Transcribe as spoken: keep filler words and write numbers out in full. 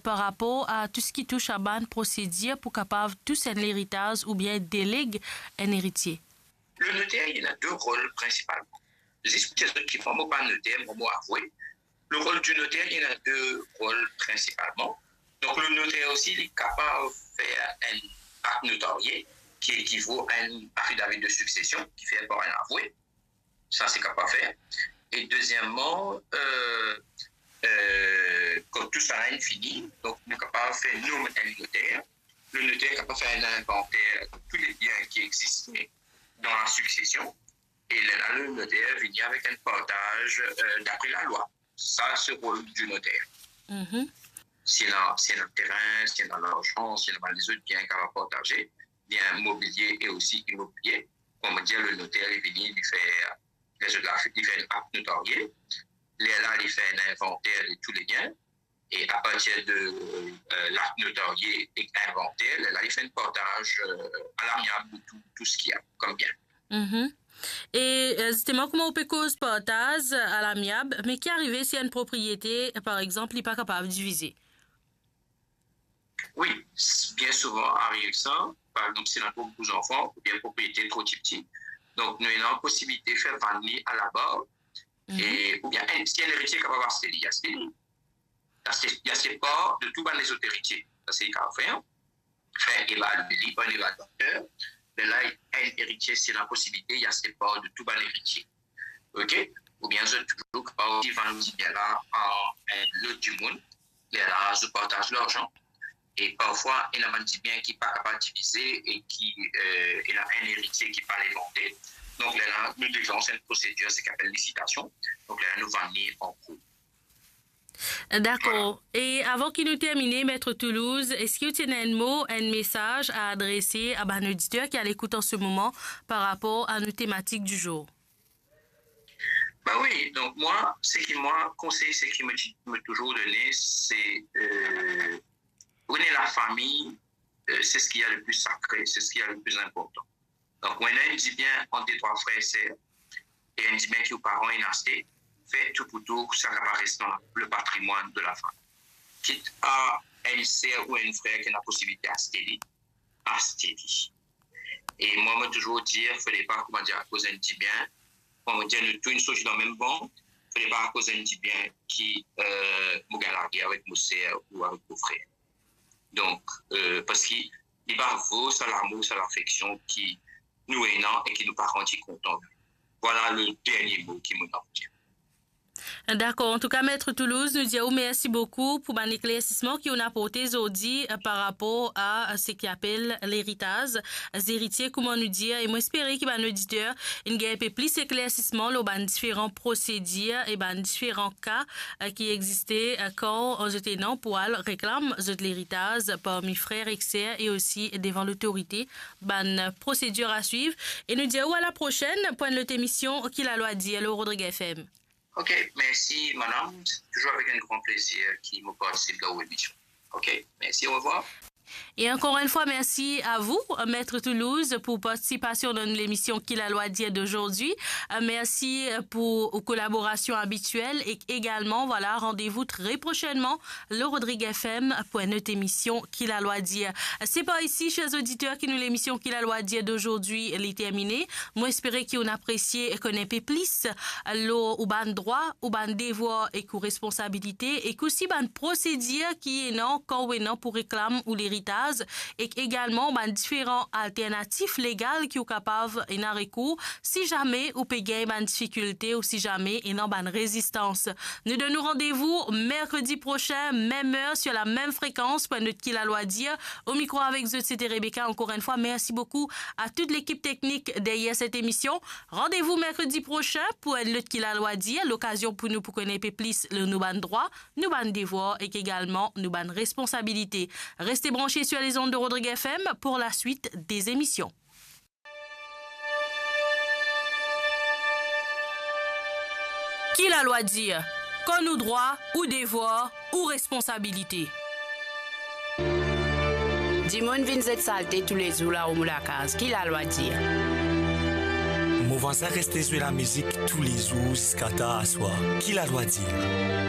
par rapor a tou seki tous a bann prosedir pou kapav tous enn leritaz oubien deleg enn eritie? Le notaire, il a deux rôles principalement. Juste pour dire que moi, moi, pas notaire, moi, moi, avoué. Le rôle du notaire, il a deux rôles principalement. Donc, le notaire aussi, il est capable de faire un acte notarié qui équivaut à un affidavit de succession qui fait par un avoué. Sa, se kapav fer. E dezieman, euh, euh, kan tou sa la fini, donk nou kapav fer nom enn noter. Le noter kapav fer enn invanter de tou le bien ki existe dan la suksesion. E lerla, le noter vini avek enn partaz, euh, dapre lalwa. Sa, se rol di noter. Mhm. Si ena, si ena terin, si ena larzan, si ena bann lezot bien ki kapav partaze, bien mobilie e osi imobilie, kouma dir, le noter, li vini, li fer, lezot la, li fer enn akt notarie, lerla, li fer enn invanter de tou le bien, e apartir de, euh, lakt notarie e invanter, lerla, li fer enn partaz, euh, a lamiab de tou, tou seki ena kom bien. Mhm. E, euh, zisteman, kouma ou pe koz partaz a lamiab, me ki arive si enn propriete, par exanp, li pa kapav divize? Wi, s-, bien souvan ariv sa. Par exanp, si ena tro pou zanfan oubien propriete tro tipti, donk nou ena posibilite fer vann li a labar, mhm, e, oubien enn, si enn eritie kapav aste li, aste li. Aste, li aste par de tou bann lezot eritie. Sa, se li kapav fer. Fer evalue li par enn evaluater. Lerla, enn eritie, si ena posibilite, li aste par de tou bann eritie. Ok? Oubien zot touzour kapav osi vann dibien la a enn lot dimoun. Lerla, zot partaz larzan. E parfwa, ena bann dibien ki pa kapav divize e ki, euh, ena enn eritie ki pa le vande. Donk, lerla, nou deklans enn prosedir, seki apel lisitasion. Donk, lerla, nou vann li an kour. Dakor. Vwala. E avan ki nou termine, Maître Toulouse, eski ou ti ena enn mo, enn mesaz a adrese a bann oditer ki a lekout an se moman par rapor a nou tematik di zour? Ben wi, donk mwa, seki mwa, konsey, seki mo ti, mo touzour done, se, euh, rene lafami, euh, se seki ena le pli sakre, se seki ena le pli inportan. Donk, ou ena enn dibien ant de trwa frer e ser, e enn dibien ki ou paran inn aste, fer tou pou tou sa kapav res dan le patrimwann de lafami. Kit a enn ser ou enn frer ki ena posibilite aste li, aste li. E mwa, mo touzour dir, fode pa, kouma dir, akoz enn dibien, kouma dir, nou tou inn sorti dan mem bann, fode pa akoz enn dibien ki, euh, mo gagn lagere avek mo ser ou avek mo frer. Donk, euh, parski li pa vo sa lamour, sa lafeksion ki nou ena e ki nou paran ti kontan. Vwala le dernie mo ki mo ena pou dir. Dakor. Antouka, Maître Toulouse, nou dir ou mersi boukou pou bann eklersisman ki ou inn aporte zordi, euh, par rapor a, euh, seki apel leritaz, zeritie, kouma nou dir, e mo espere ki bann oditer inn gagn enpe plis eklersisman lor bann diferan prosedir e bann diferan ka, euh, ki existe, euh, kan zot ena pou al reklam zot leritaz parmi frer ek ser e osi devan lotorite. Bann prosedir a swiv. E nou dir ou a la prosenn pou enn lot emision Ki Lalwa Dir lor Rodrig F M. Ok, mersi, madam. Se touzour avek enn gran plezir ki mo partisip dan ou emision. Ok, mersi, orevwar. E ankor enn fwa, mersi a vou, Maître Toulouse, pou partisipasion dan lemision Ki Lalwa Dir dozordi. Euh, mersi, euh, pou ou kolaborasion abitiel e egalman, vwala, randevou tre prosenman lor Rodrig F M pou enn lot emision Ki Lalwa Dir. Se par isi, ser oditer, ki nou lemision Ki Lalwa Dir dozordi li termine. Mo espere ki ou inn apresie konn enpe plis lor ou bann drwa, ou bann devwar ek ou responsabilite, ek osi bann prosedir ki ena kan ou ena pou reklam ou leritaz, ek egalman bann diferan alternatif legal ki ou kapav ena rekour si zame ou pe gagn bann difikilte ou si zame ena bann rezistans. Nou donn ou randevou merkredi prosin, mem er, sur la mem frekans, pou enn lot Ki Lalwa Dir. O mikro avek zot, se te Rebecca. Ankor enn fwa, mersi boukou a tout lekip teknik deryer set emision. Randevou merkredi prosin pou enn lot Ki Lalwa Dir, lokazion pou nou pou konn enpe plis lor nou bann drwa, nou bann devwar ek egalman nou bann responsabilite. Reste branche sur les ondes de Rodrig F M pour la suite des émissions. Ki Lalwa Dir? Konn ou drwa, ou devwar, ou responsabilite. Dimoun vinn zet salte toulezour larom ou lakaz. Ki Lalwa Dir? Mo vwazin reste zwe lamizik toulezour ziska tar aswar. Ki Lalwa Dir?